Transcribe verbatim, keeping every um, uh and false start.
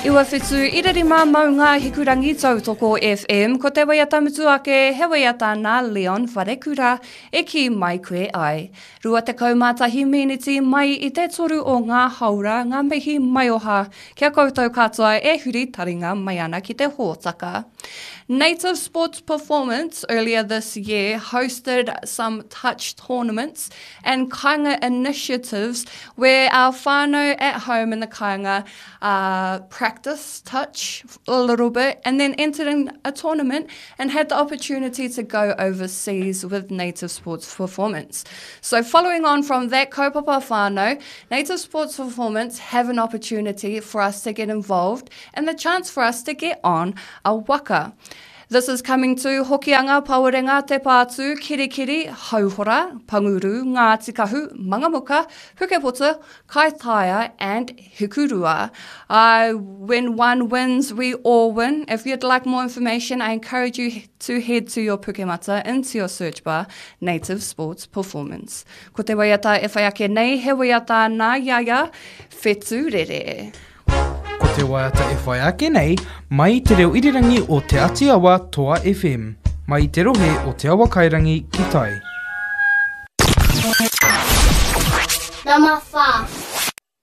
Iwa whitu ira rima maunga hikurangi tautoko FM, ko te waiata mutu ake, he waiata nā Leon Wharekura, e ki mai koe ai. Rua te kaumātahi miniti mai i te toru o ngā haura ngā mihi maioha, kia koutou katoa e huri taringa mai ana ki te hōtaka. Native Sports Performance earlier this year hosted some touch tournaments and kainga initiatives where our whānau at home in the kainga uh, practice touch a little bit and then entered in a tournament and had the opportunity to go overseas with Native Sports Performance. So following on from that kaupapa whānau, Native Sports Performance have an opportunity for us to get involved and the chance for us to get on a waka. This is coming to Hokianga, Pawarenga, Te Pātū, Kirikiri, Hauhora, Panguru, Ngāti Kahu, Mangamuka, Pukepoto, Kaitaia and Hikurua. Uh, when one wins, we all win. If you'd like more information, I encourage you to head to your Pukemata into your search bar, Native Sports Performance. Ko te waiata e whai ake nei, he waiata nā Iaia, Whetu Rere. Ko te waiata e whai ake nei, mai i te reo irirangi o Te Atiawa Toa FM, mai i te rohe o Te Awa Kairangi ki tai. Number five.